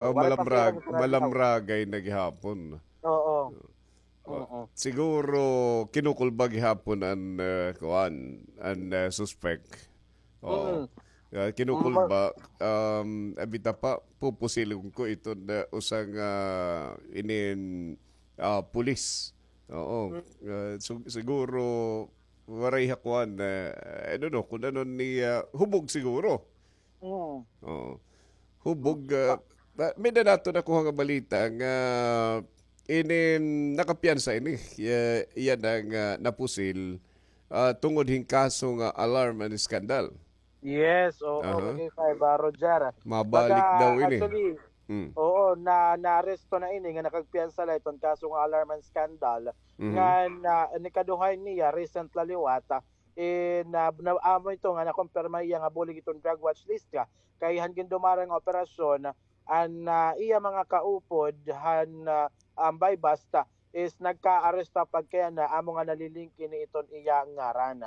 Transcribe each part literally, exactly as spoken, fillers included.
Oh, waray pa siya malamrag-, nagkakita. Malamragay na gihapon. Oo. Oo. Siguro kinukulba gihapon an, ah, kuan, an, ah, suspek. Oo. Mm. Ah, kinukulba, um, abi ta pa, pupusilon ko iton, ah, usa nga inin, ah, pulis. Oo. Mm. Ah, su-, siguro, waray ha kuan, ah, I don't know, kun ano ni, ah, hubog siguro. Mm. Oo. Hubog, ah, ba-, may-ada naton nakuha nga balita nga inin nakapiyansa ini, iya, iya na nga napusil, ah, tungod hin kaso nga alarm and scandal. Yes, oo, K five, ah, Roger. Mabalik daw ini. Actually, oo, na, naaresto na ini nga nakagpiyansa la iton kaso nga alarm and scandal. Nga na, nikaduhay niya, recent la liwat, ah, eh, na, na, amo ito nga nakumpirma iya nga bulig iton drug watch list ka. Kay han gindumara nga operasyon, an, ah, iya mga kaupod han, ah, um, buy-bust is nagkaaresto pagkayana amo nga nalilink ini iton iya ngaran.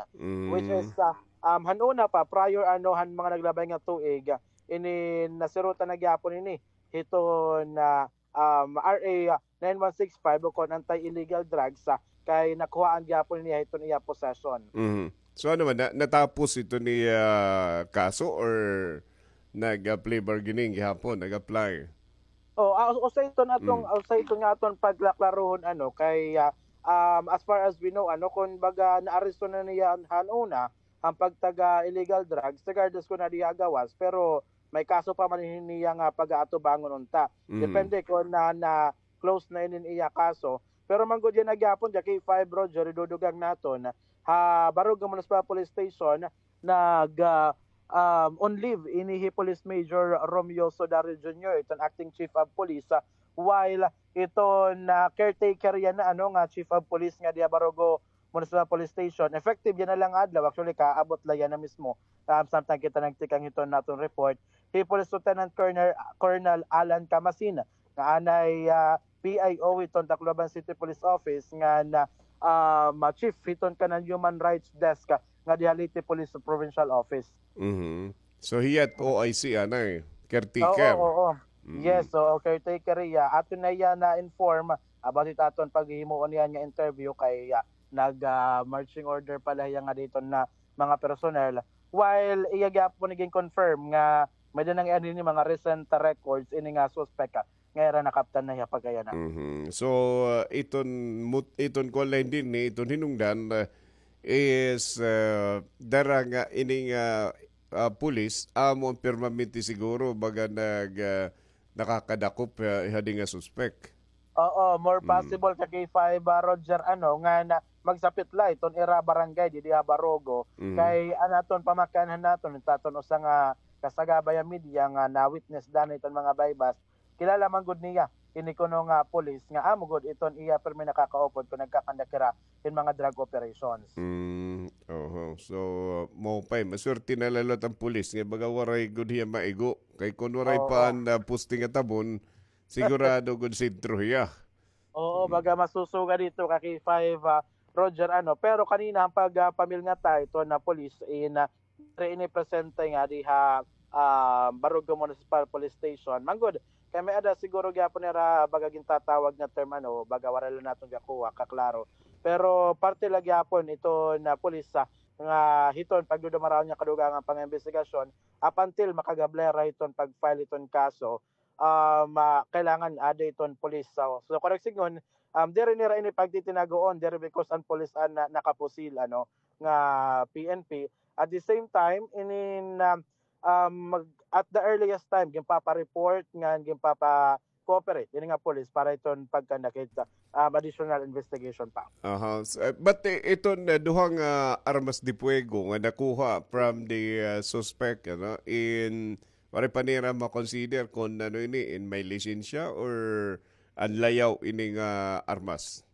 Which is, ah, um, han una pa, prior ano, han mga naglabay nga tuig, ah, ini nasirutan na gyapon ini hiton, ah, um, R A nine one six five ukon anti-illegal drugs, ah, kay nakuhaan gyapon niya hiton iya possession. Mhm. So, ano man, na-, natapos ito ni, ah, kaso or nag-, ah, plea bargaining gihapon, nag-apply? Oh, ah, usa ito nga aton, usa ito nga aton paglaklaruhon, ano, kay, ah, um, as far as we know, ano, kun baga naaresto na niya han una, han pagtaga illegal drugs, regardless kun adi ha gawas, pero may kaso pa man ini niya nga pag-aatubangon unta. Depende kun na, na-close na inin iya kaso. Pero manggod yana gyapon, Jackie five Roger, idudugang naton, ha Barugao Municipal Police Station, nag, ah, um, on leave ini hi Police Major Romeo Sudario Junior, iton acting chief of police, ah, while iton, ah, caretaker yana, ano, nga chief of police nga diha Barugao Municipal Police Station. Effective yana la nga adlaw. Actually, kaabot la yana mismo, um, samtang kita nagtikang hiton naton report. Hi Police Lieutenant Colonel, Colonel Alan Camasin, nga anay, ah, P I O hiton Tacloban City Police Office, nga na, um, chief hiton kanan Human Rights Desk, ah, nga diha Leyte Police Provincial Office. Mhm. So, hiya it O I C, anay, caretaker. Oo, oo. Yes, oo, caretaker hiya. Aton na hiya na-inform about it aton paghihimuon niyan nga interview kay, ah, nag, ah, marching order pa la hiya nga didto na mga personnel. While iya gyapon gin-confirm nga may-ada na nga ini mga recent records ini nga suspect, ah, nga ira nakaptan na hiya pagkayana. Mhm. So, ah, iton mut-, iton kuan la dinhi, iton hinungdan, ah, is, ah, dara nga ini nga, ah, pulis, amo an permanente siguro, baga nag, ah, nakakadakop, ah, hadi nga suspek. Oo, more possible ka K five, ah, Roger, ano, nga na magsapit la iton ira barangay didi ha Barugao. Kay an aton pamakanhan naton, it aton usa nga kasagabay nga media nga na-witness danay iton mga buy-bust, kilala man gud niya ini kuno nga pulis nga amo gud iton iya pirmi nakakaupod kon nagkakandak hira hin mga drug operations. Mm, oho. So, maupay, maswerte na la liwat an pulis nga baga waray gud hiya maigo. Kay kon waray pa an, ah, poste nga tabon, sigurado gud sentro hiya. Oo, baga masusugad ito ka K five, ah, Roger, ano. Pero kanina an pag, ah, pamilngat ta iton, ah, pulis in, ah, diri ini presente nga diha, ah, Barugao Municipal Police Station. Manggod, kay may-ada siguro gyapon nira baga gintatawag nga term, ano, baga waray la naton gakuha kaklaro. Pero parte la gyapon iton, ah, pulis, ah, nga hiton pagdudumaraon niya kadugangan pangaimbestigasyon up until makagablera hiton pag-file hiton kaso, um, ah, kailangan ada iton pulis. So, so, correct sidngon, um, diri nira ini pagtitinaguon, diri because an pulis an na-, nakapusil, ano, nga P N P. At the same time, inin, um, um, mag-, at the earliest time, ginpapa-report ngan ginpapa-cooperate ini nga pulis para iton pagkandak hit, um, additional investigation pa. Aha. S-, eh, but, eh, iton, eh, duha nga armas de fuego nga nakuha from the, uh, suspect, ano, in Waray pa nira ma-consider kon ano ini, in may lisensya or an layaw ini nga armas?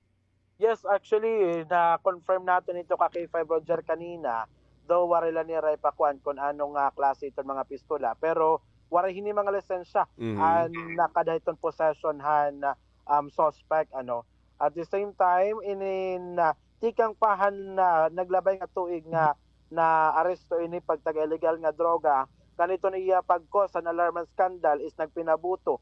Yes, actually, na-confirm naton ito ka K five Roger kanina. Though waray la nira ipakuan kon ano nga klase iton mga pistola, pero waray hini mga lisensya an nakada hiton possession han, um, suspect, ano. At the same time, inin, ah, tikang pa han, ah, naglabay nga tuig nga naaresto ini pagtaga illegal nga droga, ngan iton iya pag-cause han alarm and scandal is nagpinabuto